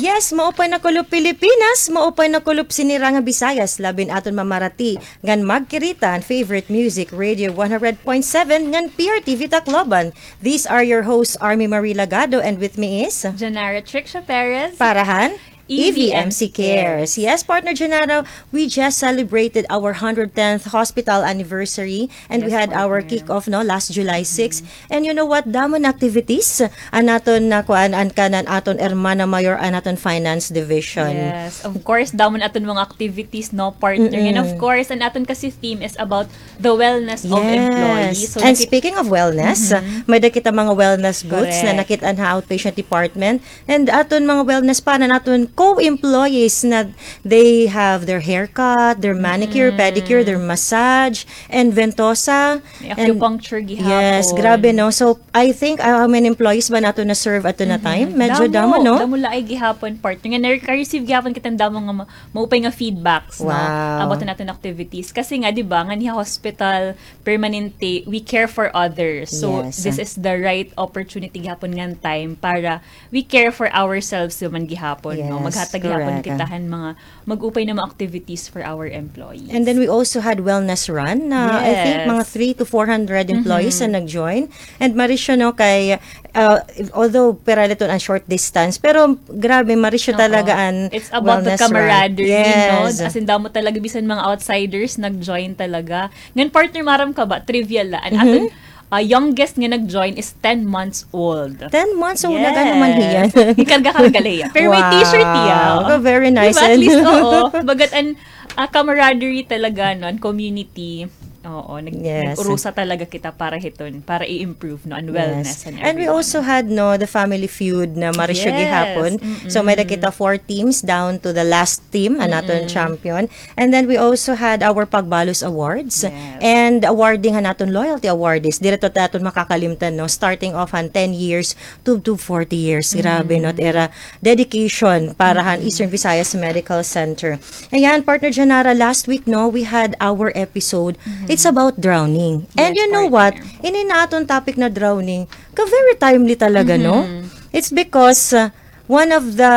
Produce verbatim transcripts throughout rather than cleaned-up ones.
Yes, maupay na kulop Pilipinas, maupay na kulop sinira nga Visayas, labi an aton mamarati ngan magkirita han favorite music radio one hundred point seven ngan P R T V Tacloban. These are your hosts, Army Marie Lagado, and with me is Janara Tricia Perez. Para han E V M C Cares. Yes, partner Janara, we just celebrated our hundred tenth hospital anniversary and we had our kick-off, no, last July six. And you know what? Damo na activities an aton na kuan, an kanan aton hermana mayor, an aton finance division. Yes, of course, damo na aton mga activities, no, partner. And of course, an aton kasi theme is about the wellness of employees. So, and speaking of wellness, may da kita mga wellness booths na nakit-an ha outpatient department. And aton mga wellness pa na aton co-employees na they have their haircut, their manicure, pedicure, their massage, and ventosa. May acupuncture gihapon. Yes, grabe, no? So, I think, ah, how many employees ba nato na-serve ato na time? Medyo damo, no? Damo laay gihapon, partner. Nga, nare-, receive gihapon kita damo nga ma-, maupay nga feedbacks, no? About naton activities. Kasi nga, di ba, nga niya hospital, permanente, we care for others. So, this is the right opportunity gihapon nga time para we care for ourselves naman gihapon, no? Maghatag gihapon kita han mga mag-upay na mga activities for our employees. And then we also had wellness run na I think mga three to four hundred employees na nag-join. And marisyo, no, kay, uh, although pira la iton an short distance, pero grabe, marisyo talaga an wellness run. It's about the camaraderie, no? As in, damo talaga, bisan mga outsiders, nag-join talaga. Ngan partner, maaram ka ba, trivia la, an aton ah, youngest nga nag-join is ten months old. Ten months old, nag-ano man hiya? Gikarga-karga la hiya. Pero may t-shirt hiya. Wow, very nice. Di ba? At least, oo. Bagat an, ah, camaraderie talaga, no, an community. Oo, nag-, nag-urusa talaga kita para hiton, para i-improve, no, an wellness and everyone. And we also had, no, the Family Feud na marisyo gihapon. So, may da kita four teams down to the last team, an aton champion. And then we also had our Pagbalos Awards and awarding han aton loyalty awardees. Diri ito aton makakalimtan, no? Starting off han ten years to, to forty years. Grabe, no? It ira dedication para han Eastern Visayas Medical Center. Ayan, partner Janara, last week, no, we had our episode. It's about drowning. And you know what? Ini na aton topic na drowning, ka very timely talaga, no? It's because, uh, One of the,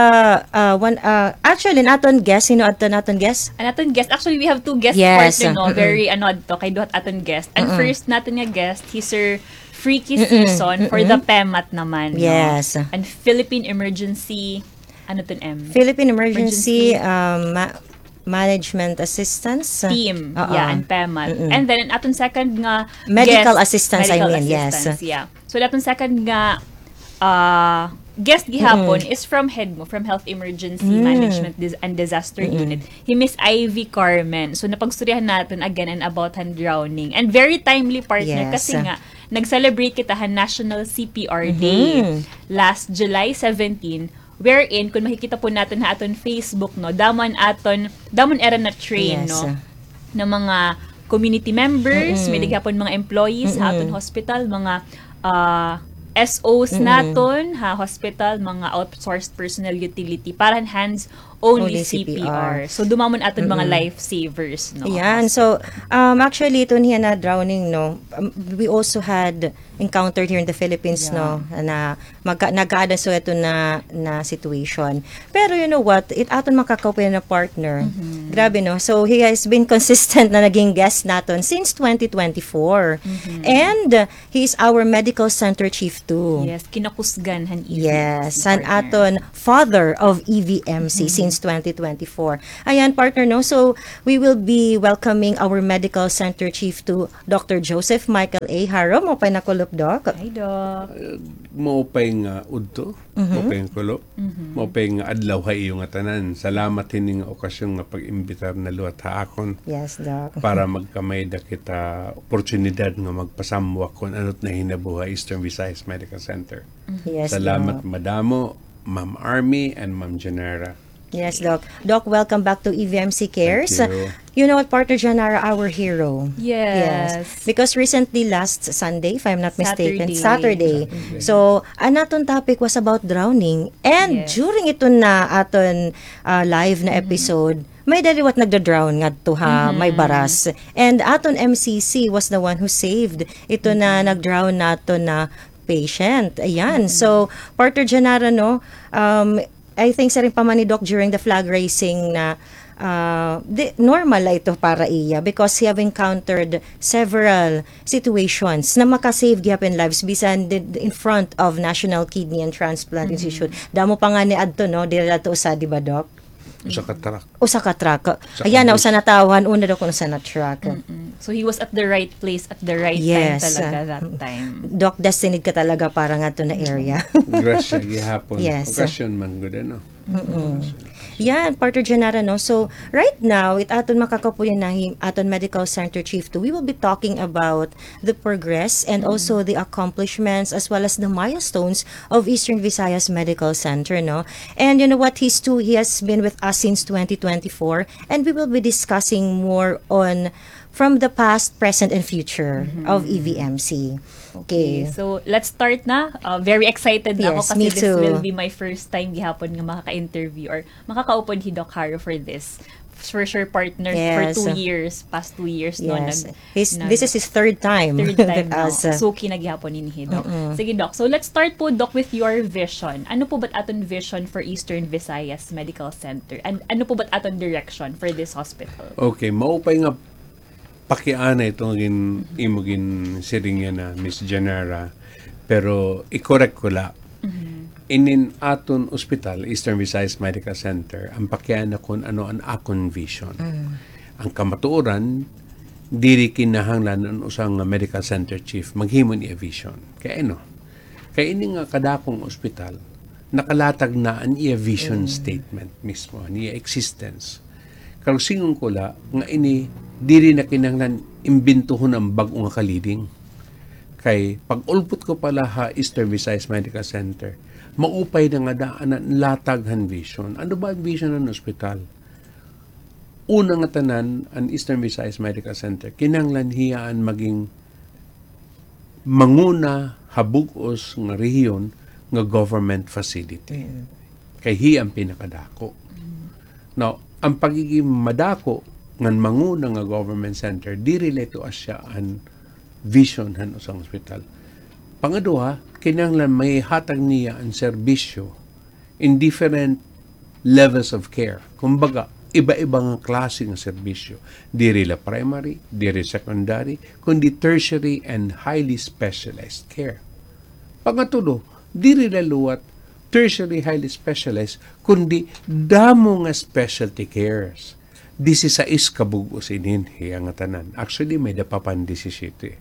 uh, one, uh, actually, an aton guest, sino adto an aton guest? An aton guest, actually, we have two guest partner, no? Very, ano, adto, kay duha aton guest. An first naton nga guest, hi Sir Freaky Season for the PEMAT naman, no? Yes. An Philippine Emergency, ano ton, M? Philippine Emergency, um, ma-, Management Assistance. Team. Yeah, an PEMAT. And then, an aton second nga guest, Medical Assistance, I mean, yes. Yeah. So, an aton second nga, ah, guest gihapon is from HEDMO, from Health Emergency Management Dis-, and Disaster Unit. Hi Miss Ivy Carmen. So, napagstoryahan naton again and about han drowning. And very timely, partner, kasi nga, nag-celebrate kita han National C P R Day last July seventeen, wherein, kon makikita po naton ha aton Facebook, no, damo an aton, damo an ira na-train, no, na mga community members, may da gihapon mga employees ha aton hospital, mga, ah, S Os naton ha hospital, mga outsourced personnel utility, para han hands-only C P R. So, dumamo an aton mga lifesavers, no? Ayan. So, um, actually, ito niya na drowning, no? Um, we also had encountered here in the Philippines, no, na magka-, nagkaada so ito na, na situation. Pero you know what? It aton makakaupay na partner. Grabe, no? So, he has been consistent na naging guest naton since twenty twenty-four. And, uh, he is our medical center chief too. Yes, kinakusgan han E V M C partner. Yes, han aton father of E V M C since twenty twenty-four. Ayan, partner, no? So, we will be welcoming our medical center chief too, Doctor Joseph Michael A. Haro, maupay na kulop, Doc. Hi, Doc. Eh, maupay nga udto, maupay nga kulop, maupay nga adlaw ha iyo ngatanan. Salamat hini nga okasyon nga pag-imbitar na liwat ha akon. Yes, Doc. Para magkamay-ada kita oportunidad nga magpasamwak kon ano it nahinabo ha Eastern Visayas Medical Center. Yes, Doc. Salamat madamo, Ma'am Army and Ma'am Janara. Yes, Doc. Doc, welcome back to E V M C Cares. Thank you. You know what, partner Janara, our hero. Yes. Yes. Because recently, last Sunday, if I'm not mistaken, Saturday. Saturday. Saturday. So, an aton topic was about drowning. And during ito na aton, ah, live na episode, may da liwat nagda-drown ngadto ha may baras. And aton M C C was the one who saved ito na nag-drown naton na patient. Ayan. So, partner Janara, no, um, I think siring pa man ni Doc during the flag raising na, ah, di, normal la ito para iya because he have encountered several situations na maka-save gihapon lives bisan di, di in front of National Kidney and Transplant Institute. Damo pa ngani adto, no? Diri la ito usa, di ba, Doc? Usa ka truck. Usa ka truck. Ayan na, usa na tawo han una, Doc, kun usa na truck. Mm-mm. So he was at the right place at the right time talaga that time. Doc, destined ka talaga para ngadto na area. Grasya gihapon. Yes. Okasyon man gud, ano? Mm-mm. Yan, Partner Genara, no? So, right now, it aton makakaupod yana hi aton Medical Center Chief two, we will be talking about the progress and also the accomplishments as well as the milestones of Eastern Visayas Medical Center, no? And you know what? He's too, he has been with us since twenty twenty-four, and we will be discussing more on from the past, present, and future of E V M C. Okay. So, let's start na. Uh, very excited na ako kasi this will be my first time gihapon nga makaka-interview or makakaupod hi Doc Haro for this. For sure, partner, for two years, past two years, no, nag- This is his third time with us. Third time na. Suki na gihapon ini hi Doc. Sige, Doc. So, let's start po, Doc, with your vision. Ano po ba't aton vision for Eastern Visayas Medical Center? And ano po ba't aton direction for this hospital? Okay, maupay nga pakiana ito nga gin-, imo ginsiring yana, Miss Genara. Pero i-correct ko la. Inin aton ospital, Eastern Visayas Medical Center, an pakiana kon ano an akon vision. An kamatuoran, diri kinahanglan an usa nga medical center chief maghimo hin iya vision. Kay ano? Kay ini nga kadakong ospital, nakalatag na an iya vision statement mismo, an iya existence. Karuyag sidngon ko la nga ini diri na kinahanglan imbintohon an bag-o nga kaliding. Kay pag-ulpot ko pa la ha Eastern Visayas Medical Center, maupay na nga daan an latag han vision. Ano ba an vision han ospital? Una nga tanan, an Eastern Visayas Medical Center, kinahanglan hiya an maging manguna ha bug-os nga rehiyon nga government facility. Kay hiya an pinakadako. Now, an pagiging madako ngan manguna nga government center, diri la ito asya an vision han usa nga ospital. Pangaduha, kinahanglan mahihatag niya an serbisyo in different levels of care. Kumbaga, iba-iba nga klase nga serbisyo. Diri la primary, diri secondary, kundi tertiary and highly specialized care. Pangatulo, diri la liwat tertiary highly specialized, kundi damo nga specialty cares. Disisais ka bug-os inin hiya nga tanan. Actually, may-ada pa pan disisiyete.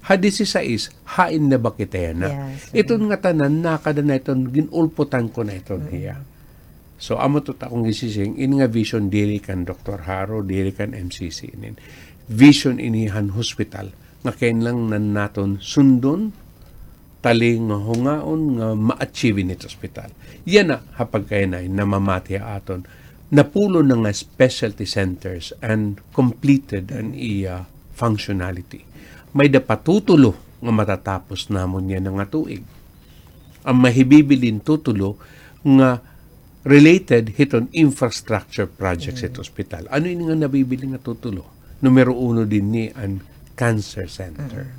Ha disisais, hain na ba kita yana? Iton nga tanan, nakada na iton, gin-ulpotan ko na iton hiya. So, amo ito it akon ginsiring, ini nga vision diri kan Doktor Haro, diri kan M C C inin. Vision ini han hospital, nga kinahanglan naton sundon, tali nga hungaon nga ma-achieve ini it ospital. Yana ha pagkahinay namamati ha aton, napulo na nga specialty centers and completed an iya functionality. May-ada pa tutulo nga matatapos namon yana nga tuig. An mahibibilin tutulo nga related hiton infrastructure projects hit ospital. Ano ini nga nabibilin nga tutulo? Numero uno dinhi an cancer center.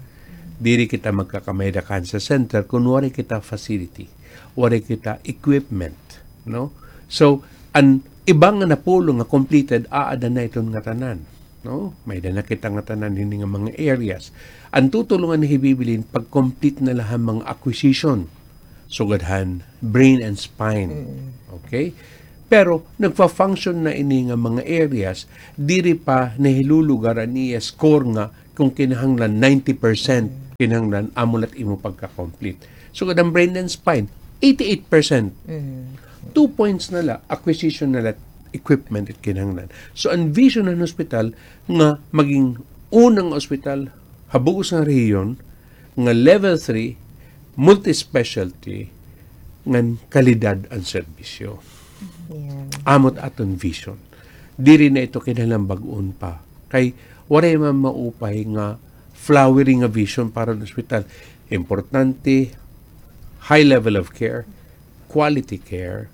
Diri kita magkakamay-ada cancer center kun waray kita facility, waray kita equipment, no? So, an iba nga napulo nga completed, aada na iton ngatanan. No? May-ada na kita ngatanan hini nga mga areas. An tutulo nga nahibibilin, pag-complete na la han mga acquisition. Sugad han brain and spine. Okay? Pero, nagfa-function na ini nga mga areas, diri pa nahilulugar an iya score nga kung kinahanglan ninety percent, kinahanglan amo la it imo pagka-complete. Sugad han brain and spine, eighty-eight percent. Two points na la, acquisition na la, equipment it kinahanglan. So, an vision han hospital nga maging unang ospital ha bug-os nga rehiyon nga level three, multi-specialty, ngan kalidad an serbisyo. Amo it aton vision. Diri na ito kinahanglan bag-on pa. Kay waray man maupay nga flowery nga vision para han ospital. Importante, high level of care, quality care,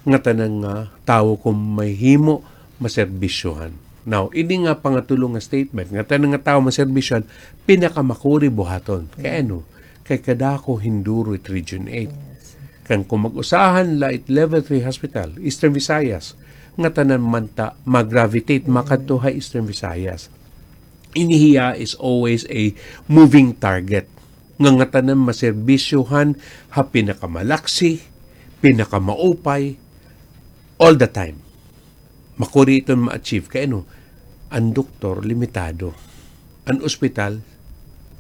ngatanan nga tawo kon mahimo maserbisyohan. Now, ini nga pangatulo nga statement, ngatanan nga tawo maserbisyohan, pinakamakuri buhaton. Kay ano? Kay kadako hin duro it Region eight. Kan kon mag-usahan la it level three hospital, Eastern Visayas, ngatanan man ta ma-gravitate makadto ha Eastern Visayas. Ini hiya is always a moving target. Nga ngatanan maserbisyohan ha pinakamalaksi, pinakamaupay, all the time. Makuri iton ma-achieve kay ano, an doktor limitado, an ospital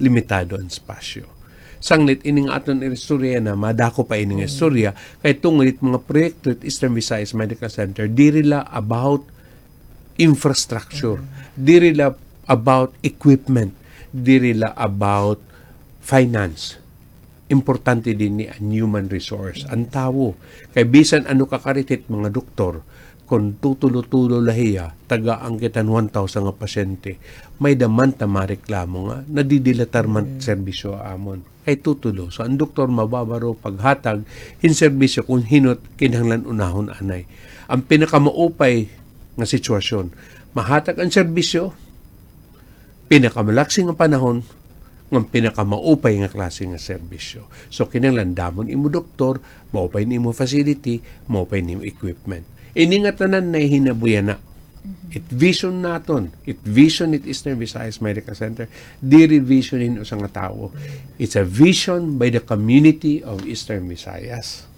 limitado an espasyo. Sanglit ini nga aton iristorya na madako pa ini nga istorya, kay tungod it mga proyekto it Eastern Visayas Medical Center, diri la about infrastructure, diri la about equipment, diri la about finance. Importante dinhi an human resource, an tawo. Kay bisan ano ka karit it mga doktor, kon tutulo-tulo la hiya, tagaan kita hin one thousand nga pasyente, may-ada man ta mareklamo nga nadidilatar man serbisyo ha amon. Kay tutulo. So, an doktor mababaro paghatag hin serbisyo kon hin-o it kinahanglan unahon anay. An pinakamaupay nga sitwasyon, mahatag an serbisyo, pinakamalaksi nga panahon, ngan pinakamaupay nga klase nga serbisyo. So, kinahanglan damo an imo doktor, maupay an imo facility, maupay an imo equipment. Ini ngatanan nahihinabo yana. It vision naton, it vision it Eastern Visayas Medical Center, diri vision hin usa nga tawo. It's a vision by the community of Eastern Visayas.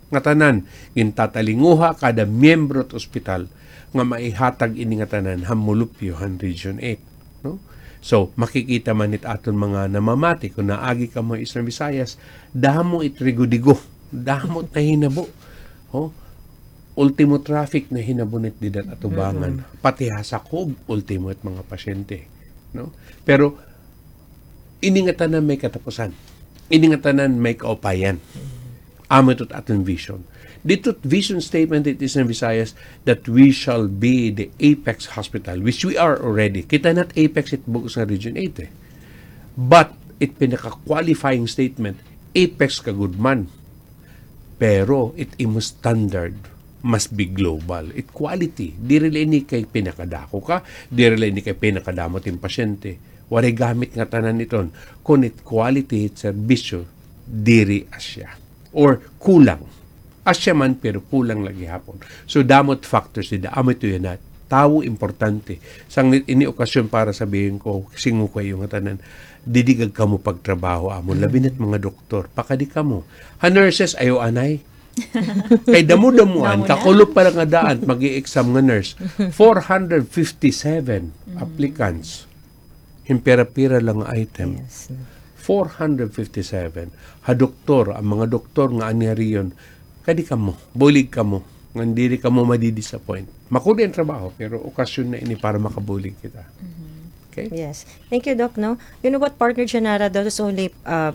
Ngatanan, gintatalinguha kada miyembro it ospital nga maihatag ini ngatanan ha molupyo han Region eight, no? So, makikita man it aton mga namamati, kon naagi kamo Eastern Visayas, damo it rigo-digo, damo it nahinabo. Oh, ultimo traffic nahinabo nit dida ha atubangan. Pati ha sakob, ultimo it mga pasyente, no? Pero, ini ngatanan may katapusan. Ini ngatanan may kaupayan. Amo ito it aton vision. Didto it vision statement it Eastern Visayas that we shall be the apex hospital, which we are already. Kita na it apex it bug-os nga Region eight, eh. But it pinaka-qualifying statement, apex ka gud man. Pero it imo standard must be global. It quality. Diri la ini kay pinakadako ka, diri la ini kay pinakadamo it im pasyente. Waray gamit ngatanan iton kon it quality it serbisyo diri asya or kulang. Asya man, pero kulang la gihapon. So, damo it factors dida. Amo ito yana. Tawo importante. Sanglit ini okasyon para sabihin ko, singo ko ha iyo ngatanan, didigag kamo pagtrabaho ha amon. Labi na it mga doktor. Pakadi kamo. Ha nurses, ayaw anay. Kay damo-damoan, kakulop pa la nga daan, mag-i-exam nga nurse. Four hundred fifty-seven applicants. Hin pira-pira la nga item. Yes. Four hundred fifty-seven. Ha doktor, an mga doktor nga anhi ha rehiyon, kadi kamo, bulig kamo, ngan diri kamo madi-disappoint. Makuri an trabaho, pero okasyon na ini para makabulig kita. Okay? Yes. Thank you, Doc, no? You know what, partner Janara, that was only, uh,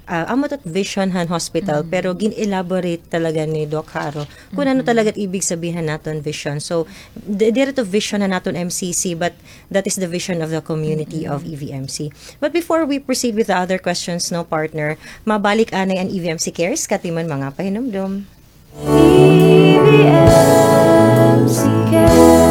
uh, amo ito it vision han hospital, pero gin-elaborate talaga ni Doc Jaro kung ano talaga it ibig sabihin naton vision. So, di-, diri ito vision han aton M C C, but that is the vision of the community of E V M C. But before we proceed with the other questions, no, partner, mabalik anay an E V M C Cares, katimon mga pahinumdom. E V M C Cares.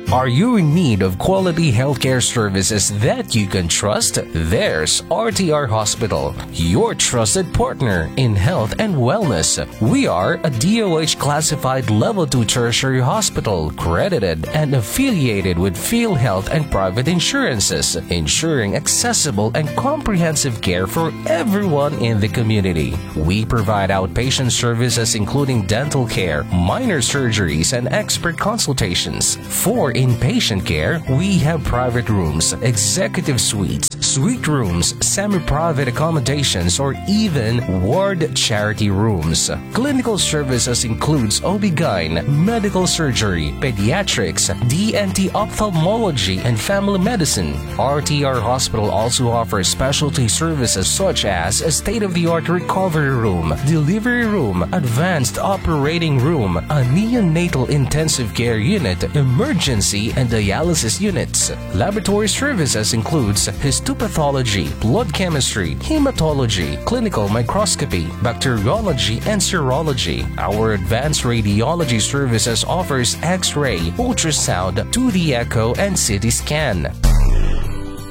Are you in need of quality healthcare services that you can trust? There's R T R Hospital, your trusted partner in health and wellness. We are a D O H classified level two tertiary hospital, credited and affiliated with PhilHealth and private insurances, ensuring accessible and comprehensive care for everyone in the community. We provide outpatient services including dental care, minor surgeries, and expert consultations. For inpatient care, we have private rooms, executive suites, suite rooms, semi-private accommodations, or even ward charity rooms. Clinical services includes O B G Y N, medical surgery, pediatrics, D N T, ophthalmology, and family medicine. R T R Hospital also offers specialty services such as a state-of-the-art recovery room, delivery room, advanced operating room, a neonatal intensive care unit, emergency and dialysis units. Laboratory services includes histopathology, blood chemistry, hematology, clinical microscopy, bacteriology, and serology. Our advanced radiology services offers X-ray, ultrasound, two D echo, and C T scan.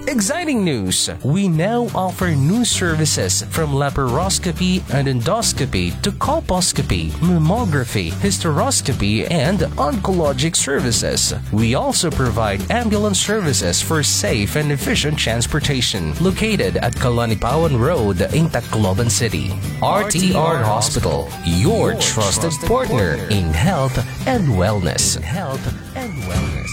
Exciting news! We now offer new services from laparoscopy and endoscopy to colposcopy, mammography, hysteroscopy, and oncologic services. We also provide ambulance services for safe and efficient transportation. Located at Kalanipawan Road in Tacloban City. R T R Hospital, your trusted partner in health and wellness. In health and wellness.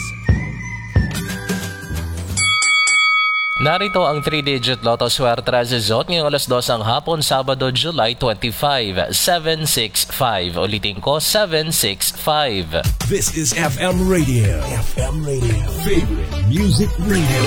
Narito ang three-digit Lotto Swerte Result ngayong alas dos ng hapon, Sabado, July twenty-five, seven six five. Ulitin ko, seven six five. This is F M Radio. F M Radio. Favorite music radio.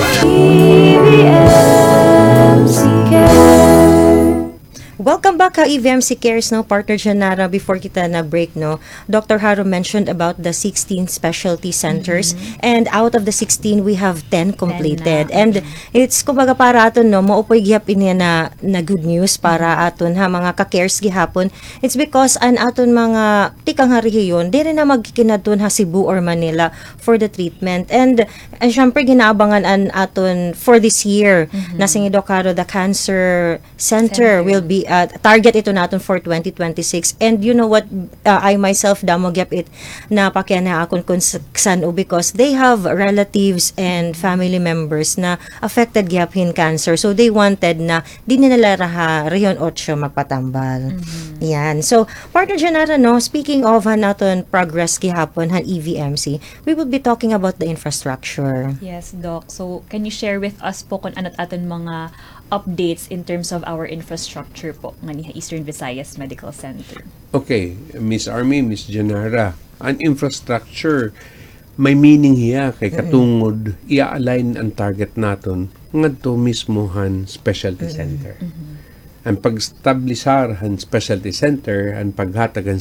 Welcome back ha E V M C Cares, no, Partner Janara. Before kita nag-break, no, Doctor Haro mentioned about the sixteen specialty centers, and out of the sixteen, we have ten completed. And it's, kumbaga, para aton, no, mao poy gihap ini na, na good news para aton ha mga ka-cares gihapon. It's because an aton mga tikang ha rehiyon, diri na magkikinadton ha Cebu or Manila for the treatment. And, and syempre, ginaabangan an aton for this year, na sige, Doc Haro, the cancer center will be, uh, target ito naton for twenty twenty-six. And you know what, uh, I myself, damo gyap it napakiana akon kon s-, san-o, because they have relatives and family members na affected gyap hin cancer. So they wanted na dinhi na la ha Region Ocho magpatambal. Yan. So, Partner Janara, no, speaking of han aton progress gihapon han E V M C, we will be talking about the infrastructure. Yes, Doc. So, can you share with us po kung ano aton mga updates in terms of our infrastructure po, ngani ha Eastern Visayas Medical Center? Okay, Miss Army, Miss Janara, an infrastructure, may meaning hiya kay katungod, i-align an target naton ngadto mismo han specialty center. An pag-establisar han specialty center, an paghatag han